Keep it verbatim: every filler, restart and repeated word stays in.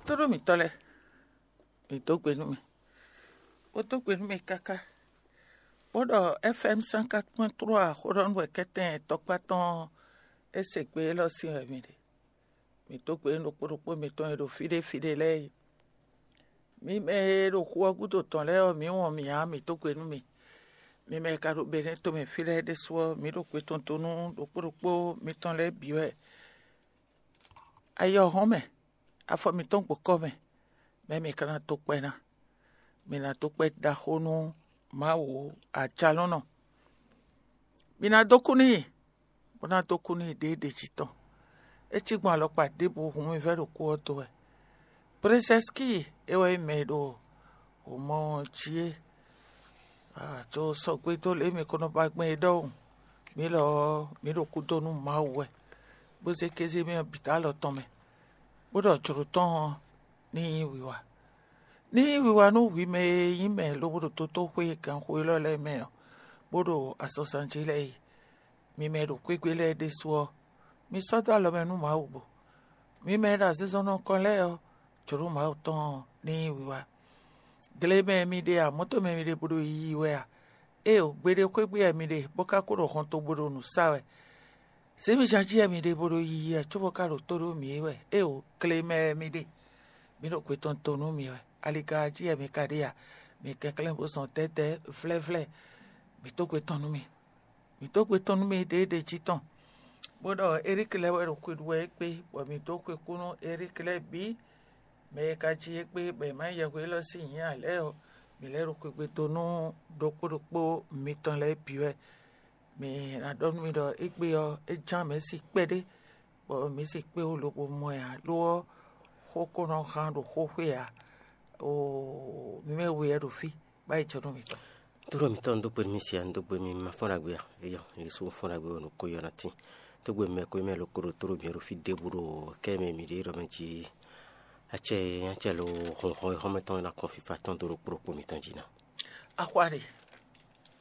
Tlóló mǐtɔn lɛ́ɛ, mǐ dó gbe nú mì, bó dó gbe nú mì káká, bó ɖɔ F M cent quatre point trois xó ɖɔ nú wɛ kɛ́tɛn tɔkpá tɔn é se gbe élɔ́ sín wɛ mì ɖe. Mǐ dó gbe nú ɖokpó ɖokpó mitɔn e ɖo fí ɖé fí ɖé lɛ́ɛ é. Mi mɛ e ɖo xu ɔ́ gúdo tɔn lɛ́ɛ ɔ́, mǐ wɔn mì ǎ, mǐ dó gbe nú mì. Mi mɛ e ka ɖo Benɛ́ tomɛ fí lɛ́ɛ ɖésú ɔ́, mǐ ɖo gbe tɔn dó nú ɖokpó ɖokpó mitɔn lɛ́ɛ bǐ wɛ. Ayɔ hɔn mɛ, afɔ mǐtɔn gbo kɔ́ mɛ, mɛ mi ka ná dó kpɛ ná. Mi ná dó kpɛ ɖaxó nú Mawu ajalɔ́nɔ. Mi ná dó kú n'i, bó ná dó kú n'i ɖěɖě jí tɔn. É cí gbɔn alɔkpa ɖěbǔ hun mi vɛ́ ɖo kú ɔ́ dó wɛ. Prezɛ́skíi é wɛ nyí mɛ e ɖo hǒmɔ ɔ́ jí é. Aa, co sɔgbe dó lě e mǐ ko nɔ ba gbɛn é ɖɔhun. Mǐ lɔ ɔ́, mǐ ɖo kúdó nú Mawu wɛ, bó zé kéze mì ɔ́ bǐ dó alɔ tɔn mɛ, bó ɖɔ jlǒ tɔn ɔ́ ní nyí wiwa. Ní nyí wiwa nú hwi mɛ e nyí mɛ lobo ɖo dotóxwé ganxó élɔ́ lɛ́ɛ mɛ ɔ́, bó ɖo azɔnzan jí lɛ́ɛ é. Mi mɛ e ɖo xwégbe lɛ́ɛ ɖésú ɔ́, mi sɔ́ dó alɔ mɛ nú Mawu bo. Mi mɛ e ɖo azinzɔnnɔ kɔn lɛ́ɛ ɔ́, jlǒ Mawu tɔn ɔ́ ní nyí wiwa. Gle mɛ mi ɖe ǎ, mɔ̌ tɔn mɛ mi ɖe bó ɖo yiyi wɛ a? Éeǒ, gbeɖé xwé gbe wɛ mi ɖe, bó ka ko ɖo hɔntogbó ɖo nǔ sa wɛ. Zěmiján jí wɛ mi ɖe bó ɖo yiyi wɛ, cóbɔ ka ɖo tó ɖó mǐ é wɛ. Éeǒ, gle mɛ wɛ mi ɖe, mǐ ɖo gbe tɔn to nú mi wɛ. Aliga jí wɛ mi ka ɖe a? Mi kɛnklɛ́n bó zɔn dɛ́dɛ́ vlɛ́vlɛ́, mǐ dó gbe tɔn nú mi. Mǐ dó gbe tɔn nú mi ɖěɖě jí tɔn, bó ɖɔ Eríki lɛ́ɛ wɛ ɖo xwe ɖu wɛ é kpé, bɔ mǐ dó xwe kú nú Eríki lɛ́ɛ bǐ. Mɛ e ka jí é kpé bɔ è má nyí yɛhweɖɔ sín nyǐ ǎ lɛ́ɛ ɔ́, mǐ lɛ́ ɖo xwegbe dó nú ɖokpó ɖokpó mitɔn lɛ́ɛ bǐ wɛ. Mǐ ná ɖɔ nú mi ɖɔ égbé ɔ́, é ján mɛ̌ si kpɛɖé, bɔ mǐ si kpé wú lobo mɔ ɛ ǎ, lo ɔ́, xó ko nɔ hán ɖo xóxwé ǎ. Oo, mi mɛ we wɛ ɖo fí, bá yi jɔ nú mitɔn. Tlóló mǐtɔn, un dó gbe nú mi sia, un dó gbe mi ma fɔ́n ɖagbe a? Eyɔ, yě sú fɔ́n ɖagbe wɛ nǔ ko yɔ ná tín. Tó gbe mɛ ko mɛ lo ko ɖo tlóló mǐ ɖo fí ɖěbǔ ɖo kɛ mɛ mǐ ɖe ɖɔ mɛ jí. Acɛ acɛ lo hɔn hɔn hɔn mɛtɔn ná kɔn fífa tɔn dó ɖo kplɔ́kpó mitɔn jí ná. Axwa ɖe.